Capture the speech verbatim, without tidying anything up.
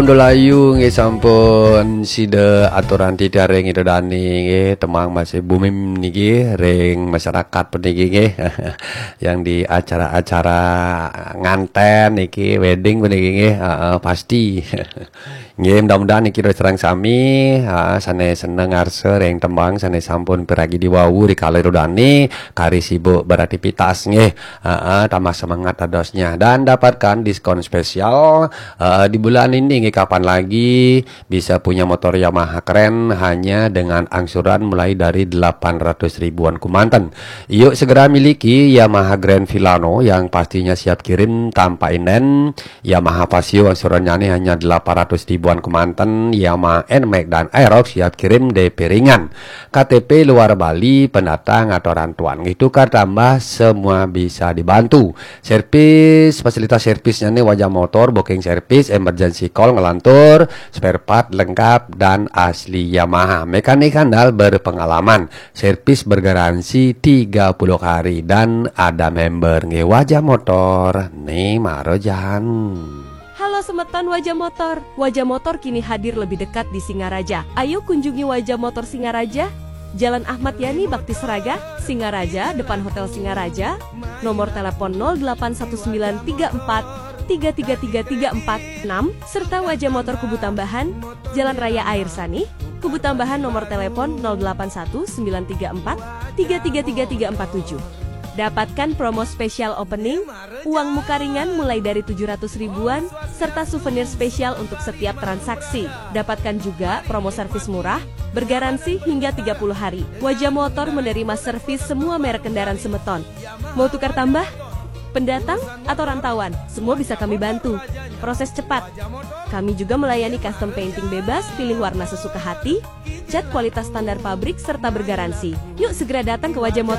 Pundulayu nggih sampun sida aturan titiang ring Ida Dani nggih, tembang masih booming niki ring masyarakat puniki nggih. Yang di acara-acara nganten niki, wedding puniki nggih, heeh, pasti. Nggih, mudah-mudahan niki terus terang sami, ha, sane seneng ngarsa ring tembang sane sampun piragi diwawu rikala Ida Dani kari sibuk beraktivitas nggih. Heeh, tambah semangat dadosnya dan dapatkan diskon spesial, eh, di bulan ini nggih, kapan lagi bisa punya motor Yamaha keren hanya dengan angsuran mulai dari delapan ratus ribuan kemanten. Yuk segera miliki Yamaha Grand Filano yang pastinya siap kirim tanpa inden. Yamaha Fazzio angsurannya nih hanya delapan ratus ribuan kemanten. Yamaha Nmax dan Aerox siap kirim D P ringan. K T P luar Bali, pendatang atau rantauan, nggih, tukar tambah, semua bisa dibantu. Servis, fasilitas servisnya nih, Wajah Motor, booking service, emergency call, ngelantur, spare part lengkap dan asli Yamaha. Mekanik handal berpengalaman, servis bergaransi tiga puluh hari dan ada member nggih. Wajah Motor, nih maro jan. Halo semeton Wajah Motor. Wajah Motor kini hadir lebih dekat di Singaraja. Ayo kunjungi Wajah Motor Singaraja, Jalan Ahmad Yani Bakti Seraga, Singaraja, depan Hotel Singaraja. Nomor telepon nol delapan satu sembilan tiga empat tiga tiga tiga tiga empat enam, serta Wajah Motor Kubu Tambahan, Jalan Raya Air Sani, Kubu Tambahan, nomor telepon nol delapan satu sembilan tiga empat tiga tiga tiga tiga empat tujuh. Dapatkan promo spesial opening, uang muka ringan mulai dari tujuh ratus ribuan, serta souvenir spesial untuk setiap transaksi. Dapatkan juga promo servis murah, bergaransi hingga tiga puluh hari. Wajah Motor menerima servis semua merek kendaraan semeton. Mau tukar tambah? Pendatang atau rantauan, semua bisa kami bantu. Proses cepat. Kami juga melayani custom painting bebas, pilih warna sesuka hati, cat kualitas standar pabrik, serta bergaransi. Yuk segera datang ke Wajah Motor.